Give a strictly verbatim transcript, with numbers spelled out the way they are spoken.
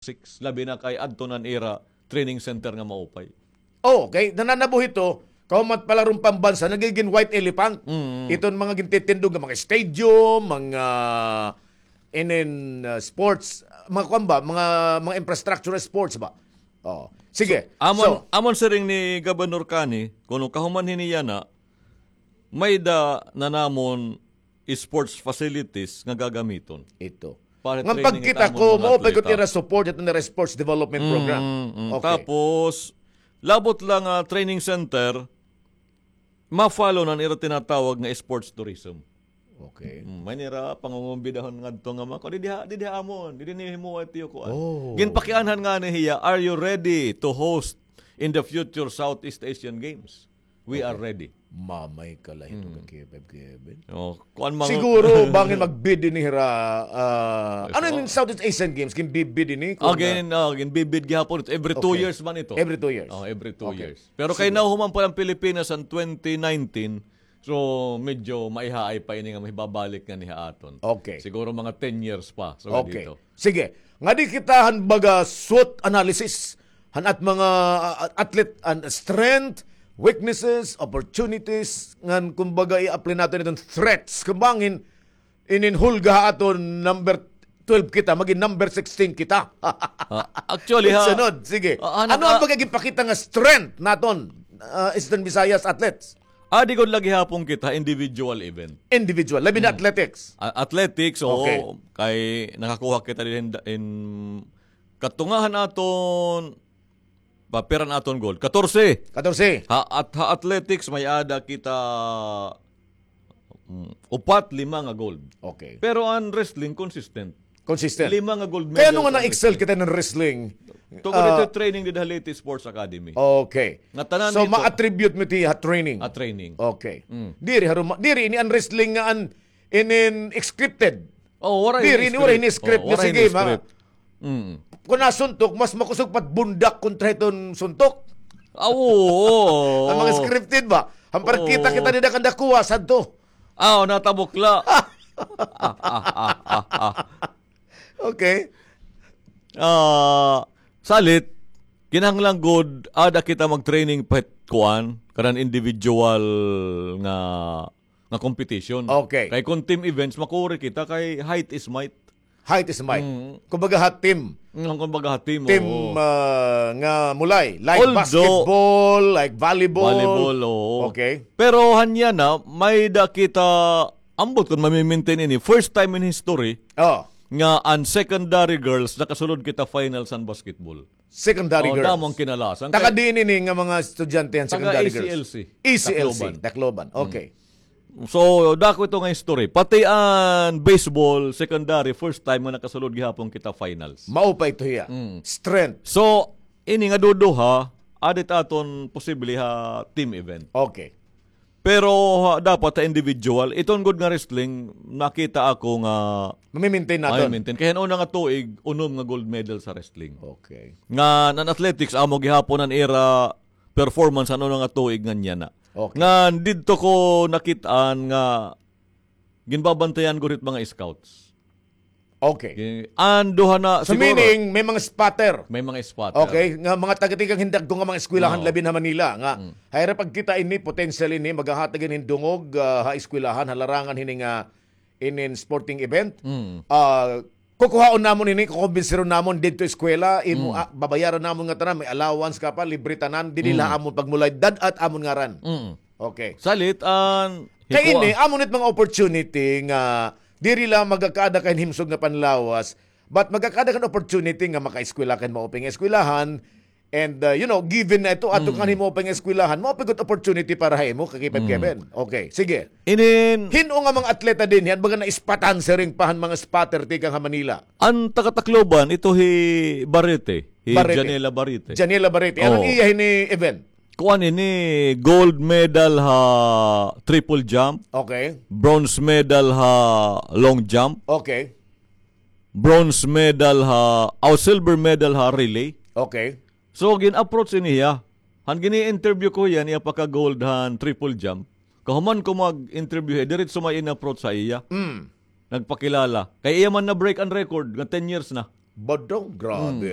six, labi na kay adto na an ira training center nga maupay. Oh, kay nananabuhi to, kahuman palaron pambansa, nagigin white elephant. Mm. Iton mga gintitindog nga mga stadium, mga inin, uh, sports, mga kuwan ba, mga, mga infrastructure sports ba? Oh. Sige. So, amon, So, amon siring ni Governor Cani, kuno kahuman hini yana, may-ada na namon sports facilities nga gagamiton. Ito. Para Ngan training pagkita it amon ko, mga mao pa gud atleta. Ira support ito nira sports development program. Mm, mm. Okay. Tapos, labot la nga training center, ma-follow na an ira tinatawag nga sports tourism. Okay. Mm, may nira pangungumbidahon ngadto nga mga, "Didi ha, didi ha amon, didi ni himuwa ito ko." Oh. Ginpakianhan ngani hiya, "Are you ready to host in the future Southeast Asian Games?" We are Okay. ready. Mamay ka la hito Mm. ka K five Kevin. Oh, kuan mga Siguro, bangin mag-bid ini hira, ah, Yes, ano oh. yung Southeast Asian Games? Kin-bid ini? Kung, Again, oh, ginbibid gihapon ito. Every two Okay. years man ito. Every two years. Oh, every two Okay. years. Pero Sige. kay nahuman pa ang Pilipinas ang twenty nineteen, so medyo maihaay pa ini nga mahibabalik nga niha aton. Okay. Siguro mga ten years pa. So, Okay. dito. Sige. Ngadi kita han baga SWOT analysis han at mga, ah, athlete, an strength, weaknesses, opportunities, ngan kumbaga i-apply naton iton threats. Kung bangin, inin hulga ha aton number twelve kita, magin number sixteen kita. Ah, actually, ha, Sunod, sige. Ah, ano Ano ang ka- pagiging pakita nga strength naton, ah, Eastern Visayas athletes? Ah, di gud lagi hapon kita individual event. Individual, labi na Hmm. athletics. A-, athletics, oo. Okay. Kay nakakuha kita din in, in katungahan aton, pa, pira an aton gold? Katorse. Katorse. Ha, at ha athletics, may-ada kita, mm, upat, lima nga gold. Okay. Pero an wrestling, consistent. Consistent. Lima nga gold medal Kaya ano nga sa na-excel wrestling. kita ng wrestling? Tungod Ah, ito training did ha Leyte Sports Academy. Okay. Nga tanan So, dito. ma-attribute mo ito ha training? Ha training. Okay. Mm. Diri, haruma, diri, ini an wrestling nga an, inin scripted. Oh, wala Diri, ini ini wala script. ini script Oh, nga wala sige, ini ma- script. Mm. Kung nasuntok, mas makusog pat bundak kontra hiton suntok. Ah, oo, oo. Ang mga scripted ba? Ang Oo. parkita kita nila kanda kuwasan to. Ah, oh, natabukla. Ah, ah, ah, ah, ah. Okay. Ah, salit, kinahanglan gud, ada kita mag-training pa hit kuan, kanan individual nga, nga competition. Okay. Kay kung team events, makuri kita kay height is might. Height is might. Mm. Kumbaga ha team. Mm, kumbaga ha team, Team, oo. ah, nga mulay. Like Although, basketball, like volleyball. Volleyball, oo. Okay. Pero hanya na, may-ada kita, ambot kung mamimintin ini. First time in history Oh. nga an secondary girls nakasulod kita finals an basketball. Secondary Oh, girls. damo ang kinalasan. Taga Kay diin ini nga mga estudyante an taga secondary girls? E C L C. E C L C, Tacloban. Tacloban. Mm. Okay. So, dako ito nga history. Pati an baseball, secondary, first time nga nakasulod gihapon kita finals. Mao pa ito hiya. Mm. Strength. So, ini nga duduha, ada it aton posible ha team event. Okay. Pero, ha, dapat ha individual. Iton gud nga wrestling, nakita ako nga Mamimintin naton. mamimintin. Kay han una nga tuig, unom nga gold medal sa wrestling. Okay. Nga, an athletics, amo gihapon an ira performance, ano na nga tuig nga niya na. Okay. Nga, didto ko nakit-an nga ginbabantayan gud hit mga scouts. Okay. Gin-, an duha na, So, siguro, meaning, may mga spotter. May mga spotter. Okay, nga mga taga-tikang hin dagko nga mga eskwelahan, No. labi na Manila, nga, Mm. hay ra pagkita ini, potential ini, maghahatag hin dungog, ah, ha eskwelahan, ha larangan hini nga, inin sporting event. Mm. Ah, kukuhaon namon ini, kukumbinsiron namon didto eskwela, imo, Mm. ah, babayaran namon nga tanan, may allowance ka pa, libre tanan, didi Mm. la amon pagmulay, dad-at amon ngaran. Mm. Okay. Salit an Kay hikuan. ini, amo nit mga opportunity nga diri la magakaada ka hin himsog nga panlawas, but magakaada ka hin opportunity nga makaeskwela ka hin maupay nga eskwelahan, and, uh, you know, given na ito, ato Mm. ka hin maupay nga eskwelahan, maupay gud opportunity para ha imo, kakipag Mm. Kevin. Okay, sige. Inin Hin-o nga mga atleta dinhi, an baga naispatan siring pa han mga spotter tikang ha Manila? An taga Tacloban, ito hi Barrete, hi Barrete. Janela Barrete. Janela Barrete. Ano Oo. iya hini event? Kuan ini, gold medal ha triple jump, Okay. bronze medal ha long jump, Okay. bronze medal ha, aw, silver medal ha relay. Okay. So, gin-approach ini hiya. Han gini-interview ko hiya, niya pagka-gold han triple jump. Kahuman ko mag-interview hiya, diretso may in-approach ha iya. Mm. Nagpakilala. Kay iya man na-break an record, nga ten years na. Badong, grabe. Mm.